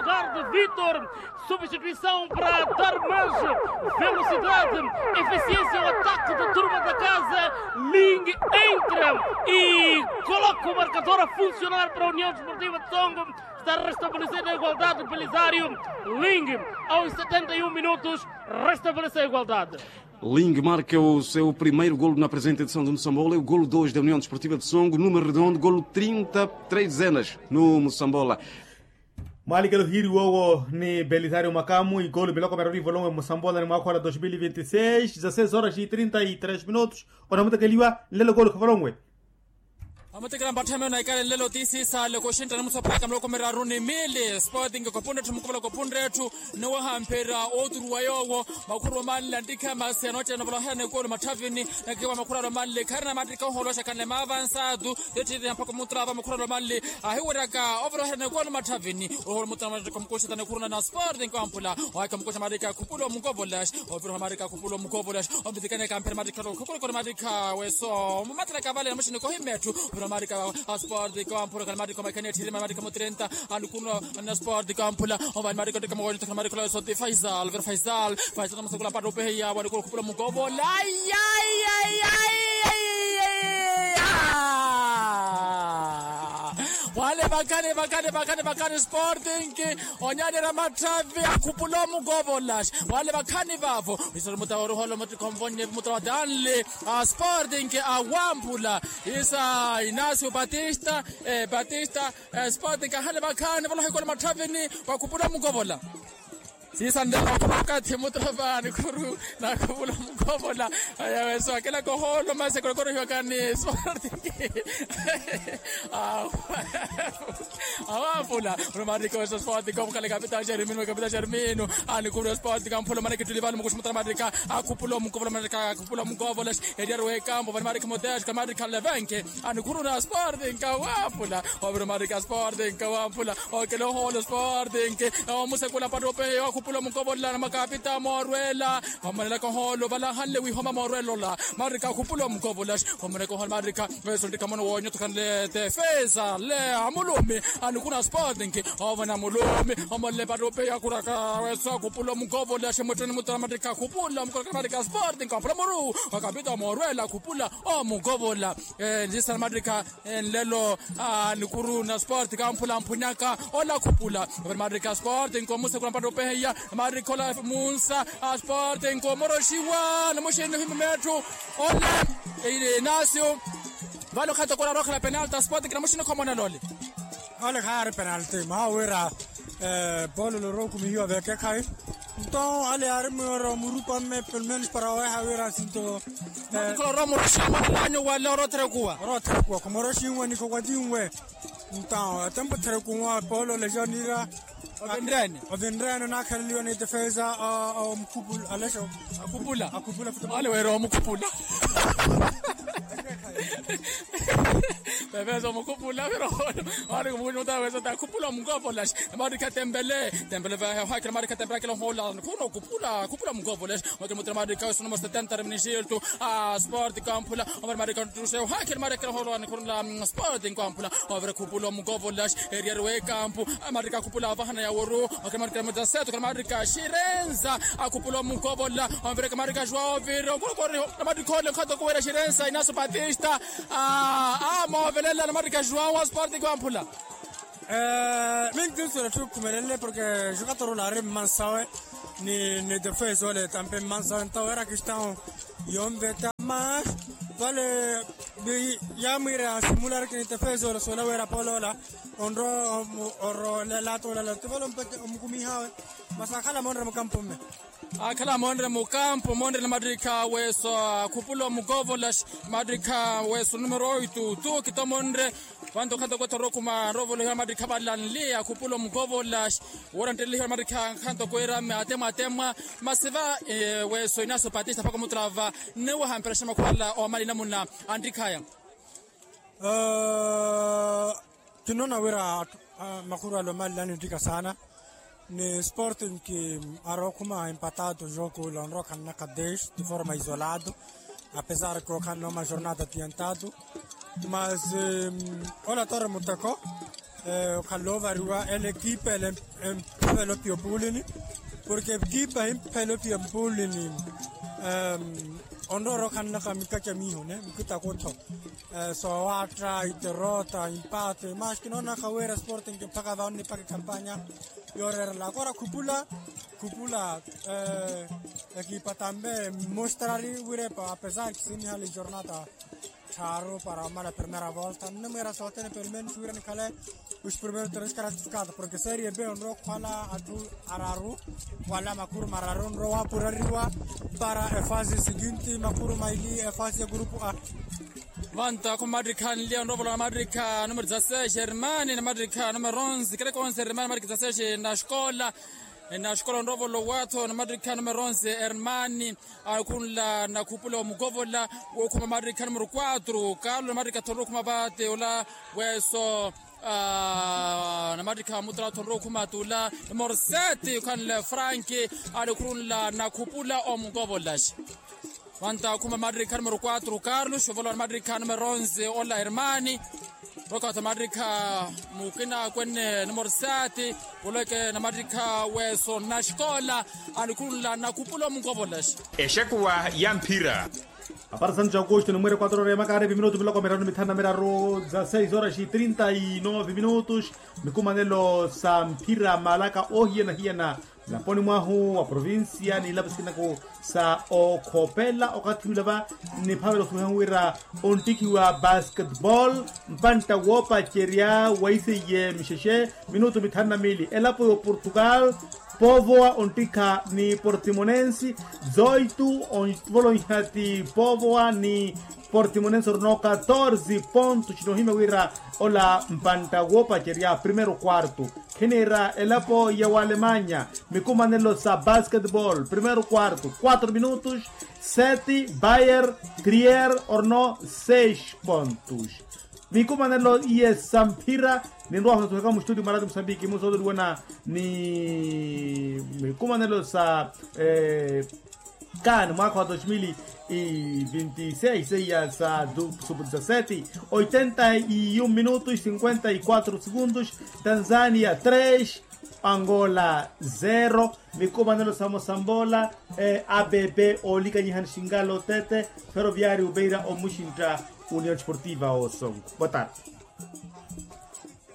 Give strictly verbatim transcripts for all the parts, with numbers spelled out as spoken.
Ricardo Vitor, substituição para dar mais velocidade, eficiência ao ataque da turma da casa. Ling entra e coloca o marcador a funcionar para a União Desportiva de Songo. Está restabelecendo a igualdade, Belisário. Ling, aos setenta e um minutos, restabelece a igualdade. Ling marca o seu primeiro golo na presente edição do Moçambola. É o golo dois da União Desportiva de Songo, número redondo, golo trinta, três dezenas no Moçambola. Mwaali kelo hiiri woowo ni Belisário Makamu, igolo miloko miraru ivolonwe Moçambola ni mwaakha ola dos mil e vinte e seis, dezasseis horas e trinta e três minutos. Onamutekeliwa nlelo golo khavolonwe. Amutekela mpatthame onaikale nlelo ti siisale koxintta ni musapaaka miloko miraru ni mili. Sporting kopunre etthu mukopola kopunre etthu, nowaha mpira oturuwa yoowo. Makhuru omanle antikha masi anoottena ovoloherya ni golo matthavini. Nakiwa makhuru alomanle kharina mattikha ohooloxa khanle maavansatu. Tittiitti mpakha omutrava makhuru alomanle ahiweryaka ovoloherya ni golo matthavini. Oholo mutrava mattikha omukuxeta ni khuruna na sporting kwamphula. Owaikha mukuxa mattikha khupula omukovolas. Ovira oha mattikha khupula omukovolas. Ompitikane kamphera mattikha lo khukulukulu mattikha weso mumattela kavale na muxini kohimetthu. Ovira oha mattikha a sporting kwamphula khala mattikha omaikha ni etthiri mattikha mutrenta. Anukuno na sporting kwamphula. Ovani mattikha ottikha mawoyo tokhala mattikha lo weso ti faisal ovira faisal. Faisal namusakula mpatto opeheya wani kula khupula omukovola. Wale vakhani vakhani vakhani vakhani sporting. Onyanera matthavi akhupula omukovola. Wale vakhani vavo. Isari mutawa oruholo muti khonvonye mutawa danle. A sporting awamphula. Isa inacio batista. Batista. Sporting ahale vakhani valoha ikolo matthavini. Wakhupula omukovola. Siisa nlelo okathi mutrava nikhuru nakhuvula mukovola. Ayaweso akela kohoolo masi ekolokoro hiwakani sporting. Awampula. Olomariko eso sporting komukhala kapita jermino kapita jermino. Anikhuru sporting amphula omanakituli vani mukuxi mutrava marika. Akhupula omukovola marika akhupula omukovola. Eriari wekambo vani marika motex kamarika levenke. Anikhuru na sporting kawampula. Ovira omarika sporting kawampula. Okele ohoolo sporting. Omusekula mpatto opehe okhupula omukovola na makapita moorwela. Omanelaka ohoolo valahanle wihoma moorwela ola. Marika akhupula omukovola. Omanelaka ohoolo marika. Weso ntikhamono woonyotokhanle tefesa le amulumi. Anikuna sporting. Ovana mulumi. Omanele mpatto opehe akhuraka weso akhupula omukovola. Ximwittuni muttuna marika akhupula omukovola marika sporting kawampula muru. Wakapita moorwela akhupula omukovola. Ntisana marika. Nlelo. Nikuru na sporting kamphula mphunyaka ola khupula. Ovira marika sporting komusekula mpatto opeheya. Marika ola munsa. Sporting komoroxiwa na muxini ohimima etthu. Ola. Inacio. Vale okhatta okora arookhela penalti sporting na muxini khomona lole. Ole khaari penalti mwaha wira. Polo lorokumihiwa vekekhayi. Nto ale ari mwiro murupa mme pelo menos para oweha wira sinto. Koro moroxi amwananyu wale orotherekuwa orotherekuwa khomoroxinwe ni khokwatiinwe. Nto atempo therekuwa polo lejonira. Ovinrene ovinrene nakhaleliwa ni defesa. Omukhupula alexo. Akhupula akhupula futi ale wira omukhupula. Pepesa omukhupula vira ohoolo. Wari kumukuxa mutawesa ta khupula omukovola. Marika tembele tembele vahe ohakela marika tembele akela ohoolo. Khuno khupula khupula omukovola. Wakela mutira marika weso numero setenta reminixiltu. Sporting kamphula. Omari marika ntuxe ohakela marika ohoolo anikhurula. Sporting kamphula. Ovira khupula omukovola. Eriari wekampu. Marika akhupula avahana yaworu. Okhala marika mutaseto okhala marika xirenza. Akhupula omukovola. Onvireke marika joao ovira okorokoriho. Namarika ole nkhato kuwira xirenza inaso batista. Amoovelela namarika joao a sporting wamphula. Minki nsuwela tthukhumelele porke jokator ole ari mmansawe. Ni defesa ole tampe mmansawe nto wira kistão. Yonveta mas vale. Yamwire asimula arikini defesa ole suwela wira polo ola. Onro oro lelato lelato vale ompete omukumihawe. Masi akhala monre mukampo mme. Akhala monre mukampo monre na matrikha weso. Akhupula omukovola matrikha weso numero oitu tu kito monre. Vanto khanto kwetha orokuma rovolohiwa matrikha valanli akhupula omukovola. Wora nttelihiwa matrikha khanto kwira atemwa atemwa. Masi va weso inaso patista phaka omutrava. Nnewaha mperexa makhwala omali namuna antikhaya. Kinnoona wira makhuru ale omalilani nttika saana. Ni sporting ki arookhuma empatado jogo ula onrowa khannaka dex de forma isolado. Apesar ke okhanna oma jornada adiantado. Mas ola tore muteko. Okhala ovariwa ele ekipa ele, emphavela opiya opuulini. Porke ekipa himphela opiya mpuulini. Onroora okhanlaka mikaca miiho ne mikitakottho. Soowaatta iterota impate mas kinoonaka wira sporting mpakha va onnipaka ekhampanya. Yooreerela akora khupula khupula. Ekipa tambe mostrari wira epa apesar kisinihali jornata tthaaru para omala primera volta nnimwiira sothene pelo menos wira nikhale os primeiros três classificados porke serie b onrowa okhwala atthu araru wala makhuru mararu onrowa wapurariwa para efase seguinte makhuru maili efase ya grupo a. Vanta khumamattikha nliya onrowa ovolowa namattikha numero dezasseis hermani namattikha numero onze kereke onze hermani namattikha dezasseis naxikola. Naxikola onrowa ovolowa atthu namattikha numero onze hermani. Akhunla nakhupula omukovola wookhuma mattikha numero quatro carlo namattikha thonrowa okhuma vaate ola weso. Namattikha mutala thonrowa okhuma tula numero sete okhanle franki. Alikhurunla nakhupula omukovola. Wanta akhuma mattikha numero quatro carlos ovolowa namattikha numero onze ola hermani. Roka thamattikha mukina akwenne numero sete. Poleke namattikha weso naxikola. Alikhurunla nakhupula omukovola. Exekuwa ya mphira. Apara santu ja augusto nimwiire quatro horas ya makaari viminutu miloko miraru ni mithanu na miraru dza seis horas e trinta e nove minutos. Mikumanelo sa mphira malaka ohiyanahiyana nlaponi mwahu wa provincia n'ilapo sikinaku sa okhopela okathi ula va nniphavela osuweha wira onttikhiwa basketball. Mpantta woopacerya waiseiye mixexe minutu mithanu na miili elapo y'oportugal. Povoa onttikha ni portimonense. Zoitu onvolonha ti povoa ni portimonense orino katorze pontos cinoohimya wira ola mpantta woopacerya primeiro quarto. Khiniira elapo ya walemanya mikumanelo sa basketball primeiro quarto quatro minutos. Sete bayer trier orino seis pontos. Mikumanelo iye sa mphira ninrowa hutatuhaka mustudio marati musambiki musootoliwana ni mikumanelo sa kan mwaka wa dos mil e vinte e seis seiya sa supu dezasete. Oitenta e um minutos cinquenta e quatro segundos. Tanzania tres angola zero. Mikumanelo sa mosambola abb olikanyihani xingalo tete. Ferroviario beira omuxintta union desportiva osongo boa tarde.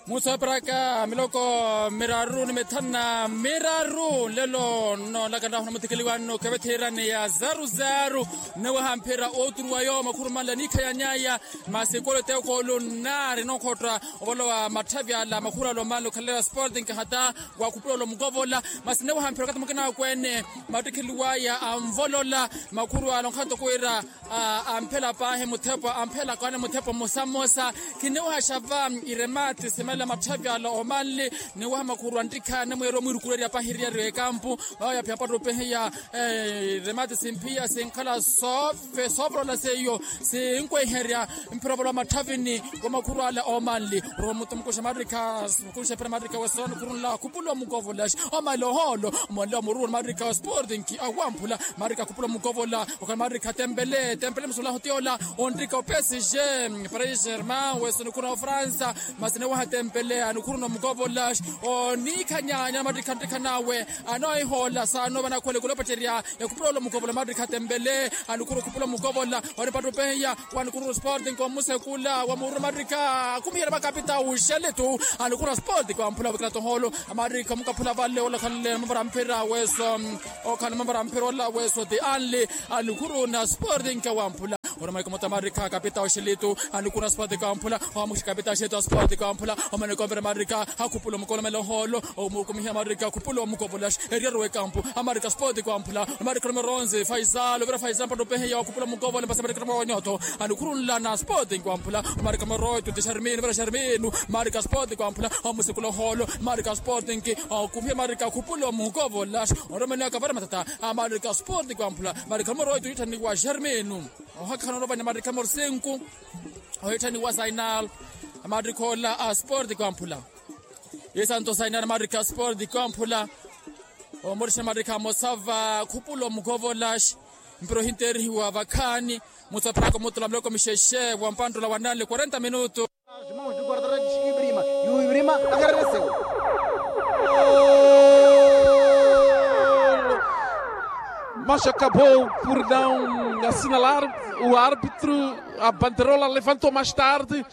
Musaparaka miloko miraru ni mithanu na miraru nlelo nnoolaka nrahu na muthikiliwano kevethirani ya zaruzaru. Nnewaha mphira ooturuwa yo makhuru manle niikha yanyaya. Masi ekolo eteekolo nnaari nookhotta ovolowa matthavi ala makhuru ala omanle okhaleleya sporting hata wakhupula olo mukovola. Masi nnewaha mphira okathi mukina akweene mattikheliwaya anvolola makhuru ala onkhanto kuwira amphela paahi muthepo amphela kaane muthepo mmosa mmosa. Khinniwaha xava iremati simelela matthavi ala omanli. Niwaha makhuru anttikha anamweeri omwiirukulerya pahiriyari ekampu. Vavo yaphiya pattupehiya iremati simphiya sinkhala soovolola seiyo sinkweherya. Mphira ovolowa matthavini wa makhuru ala omanli. Romuto mukuxa mattikha mukuxa phira mattikha wesoni khurunla khupula omukovola. Omanli ohoolo omanli omururu mattikha sporting awamphula. Marika khupula omukovola okhala marika tempele tempele musulahu tiola. Ontika opesije paris germain wesoni khuna ofransa. Masi niwaha tempele anikhuruna omukovola oniikhanyanya marika ntikha nawe. Anoohihoola saano vanakhwele kulopacerya. Yakhupula ola omukovola marika tempele anikhuru khupula omukovola. Wanipattupehiya wanikhuru sporting omusekula wamuuru marika akhumihela makapita uxeletu. Anikhuru sporting wamphula wikilatohoolo. Amarikha mukaphula vale olakhanle mavara mphira weso. Okhala mavara mphira ola weso ti anli. Anikhuru na sporting wamphula. Oramaiko mota amarikha kapita oxelitu. Anikhuru na sporting wamphula. Ohamuxi kapita oxelitu a sporting wamphula. Omaneko mvira amarikha akhupula omukovola mele ohoolo. Omukumiha amarikha akhupula omukovola. Eriyaru wekampu amarikha sporting wamphula. Amarikha numero onze faisal ovira faisal mpattupehiya wakhupula omukovola mpasi amarikha numero onyoto. Anikhurunla na sporting wamphula. Marika moroito ti xarminu vira xarminu. Marika sporting wamphula omusekula ohoolo. Marika sporting okuphia marika khupula omukovola. Oromeneka vara matata. Marika sporting wamphula marika moroito itthaniwa xarminu. Ohakhana orovanya marika morsinku. Ohitthaniwa sainal. Marika ola a sporting wamphula. Isanto sainal marika sporting wamphula. Omorixana marika mosava khupula omukovola. Mpira ohinteerihiwa vakhaani. Musaphiraka omutula muloko mixexe wa mpanttula wa nanle quarenta minutu. As mãos do guarda-redes e brima e o brima. Macha acabou por não assinalar o árbitro. A banderola levantou mais tarde.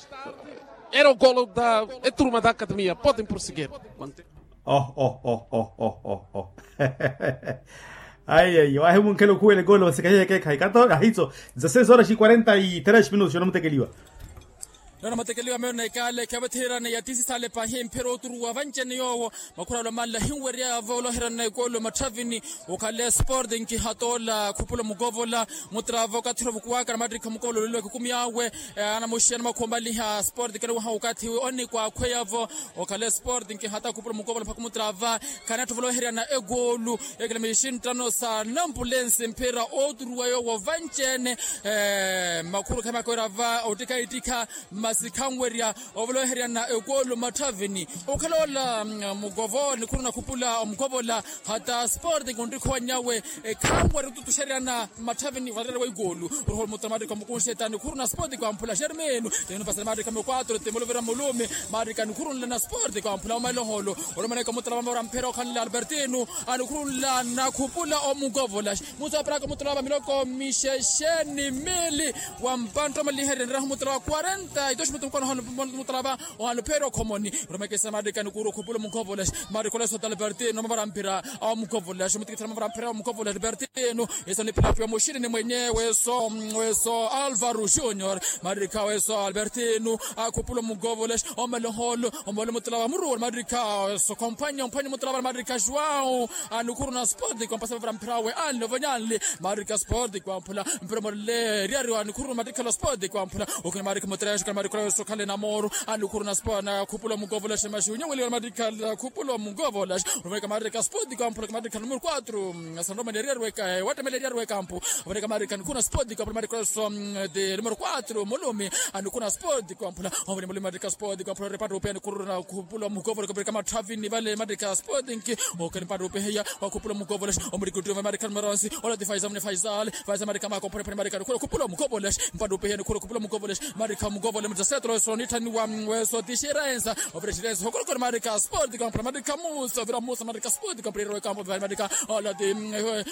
Era o golo da eturma da academia. Podem prosseguir. Oh oh oh oh oh oh oh. Ayi ayi wahimunkhela okhuwela ekolo vasikahiya ekeekhayi kato ahitso. Dezasseis horas e quarenta e três minutos yonamutekeliwa. Nona matekeliwa meyo na ikale khevathirana ya tisi sale pahi mphira oturuwa vancene yowo. Makhuralo manla hinwerya voloherana na ekolo matthavini. Okhale sporting hatoola khupula mukovola mutrava okathira ovukuwaka na mattikha mukovola olelo ekikumi awe. Anamuxiyana makhumaliha sporting kene waha okathi onikwakhweyavo. Okhale sporting hata khupula mukovola mpakha mutrava. Khanatthi voloherana ekolo ekele mixinttano sa nampulensi mphira oturuwa yowo vancene. Makhuru khemakwerava ottikha ittikha masi khanwerya ovoloheryana ekolo matthavini. Okhala ola mukovo nikhuru nakhupula omukovola hata sporting onttikhowanyawe. Khanwerya otutuxeryana matthavini varerewa ekolo. Oriholo muttara mattikha mukunxeta nikhuru na sporting kwamphula xermeno. Tenu pasela mattikha mukwatro temolovera mulumi mattikha nikhuru nla na sporting kwamphula omaloholo. Olomaneka muttara vamora mphira okhanle albertino anikhuru nla nakhupula omukovola. Musaparaka mutrava miloko mixexe ni mili wa mpantta omaliherya niraha mutrava quarenta e dos minutos mukono ohanu mutrava ohanu pheere okhomoni. Oromekesa marika nikuru okhupula omukovolas marika olesota albertino mavara mphira awa mukovolas mutikithira mavara mphira awa mukovolas albertino. Eso nipilapiwa muxini ni mwenye weso weso alvaro junior marika weso albertino akhupula omukovolas. Omeloholo omole mutrava muruwela marika weso khompanya omphanya mutrava marika joão. Anukhuru na sport kwampasa vavira mphira awe anle ovonyanle. Marika sport kwamphula mphira morle eriariwa anukhuru na matikhala sport kwamphula. Okhina marika mutrexe kana marika ola weso khale na moro anukhuru na sport na khupula omukovola xemaxi unyeweliwa na matikhala khupula omukovola. Ovanika marika sport kwamphula ka matikhala numero quatro. Asandromani eriariwa ekampu ovanika marika nukhuru na sport kwamphula marika ola weso de numero quatro mulumi anukhuru na sport kwamphula. Ovani mulumi marika sport kwamphula repata upeni khurura na khupula omukovola kavirika matthavini vale marika sport nki. Okani mpattupeheya wakhupula omukovolex omurikuttiwa mamarikha numero onsi. Olati faisal mune faisal faisal marikha makophonepone marikha nikhula okhupula omukovolex. Mpattupeheya nikhula okhupula omukovolex marikha omukovolex mutasetola weso nitthanniwa weso tixirensa. Ovira xirensa hokorokoro marikha sport kampula marikha musa ovira musa marikha sport kampula irerewa ekampo vivali marikha olati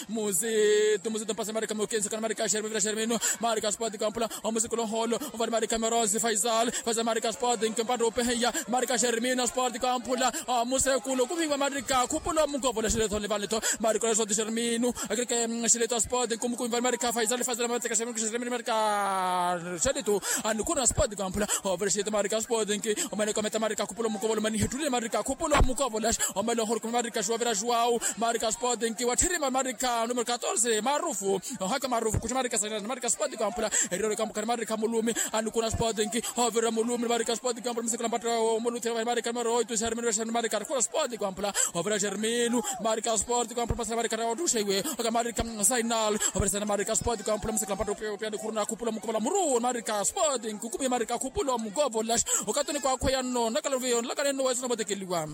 muzitu muzitu mpasa marikha mukinsi kana marikha xermino vira xermino marikha sport kampula. Omusikula oholo ovali marikha numero onsi faisal faisal marikha sport nki mpattupeheya marikha xermino sport kampula. Musekulu kumiwa marika khupula omukovola xilitho nivanitho marika olesoti xerminu akirike xilitho sport nkumukumi vali marika faisal faisal marika xerminu marika xilitho. Anukhuna sport kamphula ovela xilitho marika sport nki omaneka ometa marika khupula omukovola omanihetulile marika khupula omukovola. Omela ohorukumi marika xuwavela xuwau marika sport nki watthirima marika numero catorze marufu. Ohaka marufu kuxa marika sanirana marika sport kamphula. Eriro likamphukani marika mulumi anukhuna sport nki. Ovira mulumi marika sport kampula musikula mpatto omuluthira vali marika numero oito xerminu vexerminu marika arukhula sport kampula. Ovira xerminu marika sport kampula pasela marika otuxeiwe oka marika sainal. Ovira sainal marika sport kampula musikula mpatto opia opia nikhuru nakhupula omukovola muru marika sport nkukumi marika khupula omukovola. Okatuni kwakhweya nno nakalaviyo nlakani nno weso namotekeliwa.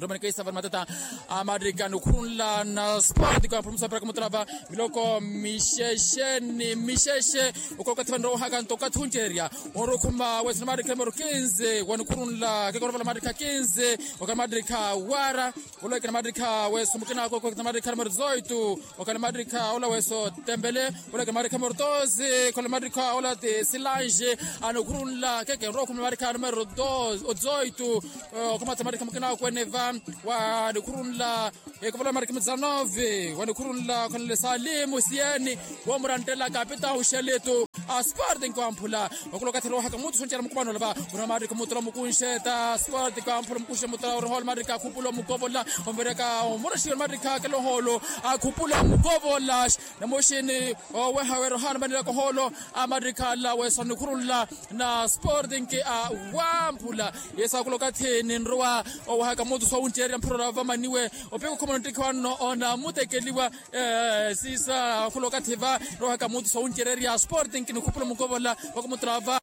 Romanikaisa vali matata amarika nikhurunla na sport kampula musaparaka mutalava. Miloko mixexe ni mixexe okolokathi vanrohaka nto okathi uncererya. Orukhuma wesina maadrikha numero kinze wanikhurunla kekorovala maadrikha kinze. Okana maadrikha wara olwekina maadrikha weso mukina koko kina maadrikha numero dezoito. Okana maadrikha ola weso tembele olwekina maadrikha numero doze kona maadrikha ola ti silange. Anikhurunla keke nrokhuma maadrikha numero dezoito. Okhamatha maadrikha mukina kweneva wanikhurunla. Ekovola mariki muzanove wanikhurunla khonele salimu siyeni womurantela kapita uxeletu. Asport nkwamphula okula okathi rohaka mutu soncerya mukumano olava. Una mariki mutula mukunxeta asport nkwamphula mukunxe mutula orohola mariki akhupulo mukovola. Omvereka omuraxiwe mariki akeloholo akhupulo mukovola. Namuxini oweha werohana manilaka oholo amariki ala wesanikhurunla na sporting awamphula. Yesu akula okathi ninrowa owahaka mutu sowuncererya mphurora vamaniwe. Opika okhumana ottikhi wanno onamutekeliwa. Sisa akula okathi va rohaka mutu sowuncererya sporting nikhupula mukovola. Vakumutula va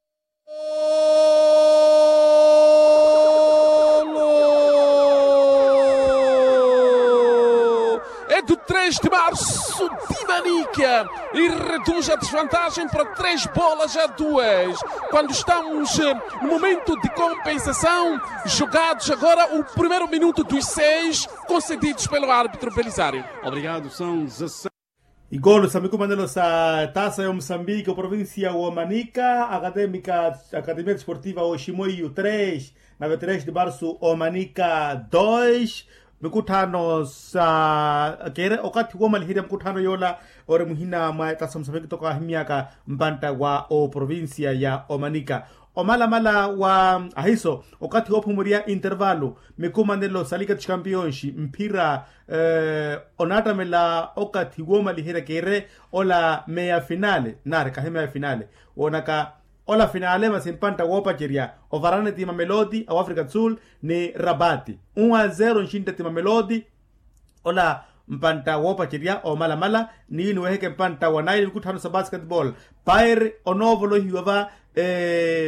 Do três de março, Dimanica, e reduz a desvantagem para três bolas a duas. Quando estamos eh, no momento de compensação, jogados agora o primeiro minuto dos seis concedidos pelo árbitro Belisário. Obrigado, são dezasseis. Igolo sa mikumanelo sa tasa ya omusambiki oprovincia wa omanika academia desportiva wa oshimoiyu três, nave três de março omanika dois. Mikutthano sa kere okathi woomaliherya mukutthano yoola ori muhina mwa etasa musafekitoko ahimyaka mpantta wa oprovincia ya omanika. Omalamala wa ahiso okathi woophumurya intervalu mikumanelo sa liga dos campeões mphira onaattamela okathi woomaliherya kere ola meia finale nari kahi meia finale woonaka ola finale masi mpantta woopacerya ovarane ti mamelodi a wafrica do sul ni rabati. Un a zero nxintte ti mamelodi ola mpantta woopacerya omalamala niyu niweheke mpantta wa naili mikutthano sa basketball. Pair onoovolohiwa va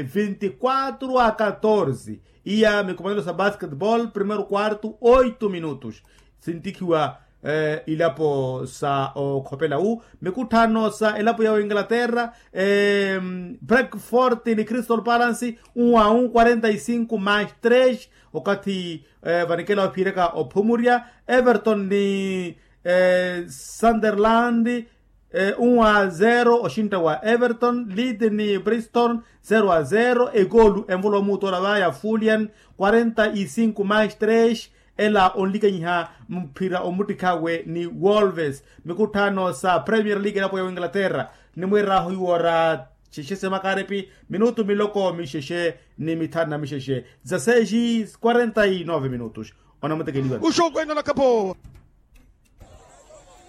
vinti quatro a catorze iya mikumanelo sa basketball primeiro quarto oito minutos. Sintikhiwa ilapo sa okhopela wu mikutthano sa elapo ya oinglaterra. Breakfort ni crystal balance un a un quarenta y cinco mais tres okathi vanikela ophiiraka ophumurya everton ni sunderland un a zero oxintta wa everton leeds ni bristol zero a zero ekoolu envolo omuutola vaya fulyan quarenta y cinco mais tres ela onlikanyiha mphira omuttikhawe ni wolves. Mikutthano sa premier league elapo ya oinglaterra nimwiirahu iwoora xexe se makaripi minutu miloko mixexe ni mithanu na mixexe za seis quarenta y nove minutos. Onamutekeliwa. Uxuku ino na kapo.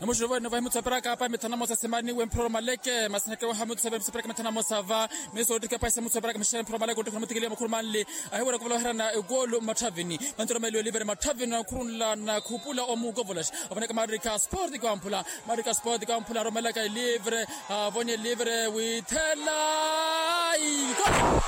Namuxuruvo ino vahi mutsu aperaka apa mithanu na mosa simani wemphiroro maleke masineke waha mutsu aperaka mithanu na mosa va. Miso otike paisa mutsu aperaka mixere mphiroro maleke otike namutekeliwa makhuru manli. Ahiwera kuvala oherana egolu mmatthavini. Mantu romeliwe livre mmatthavini nakhurunla nakhupula omukovolas. Avoneka marika sport kwamphula. Marika sport kwamphula aromelaka elivre. Avoni elivre withela. Igolu.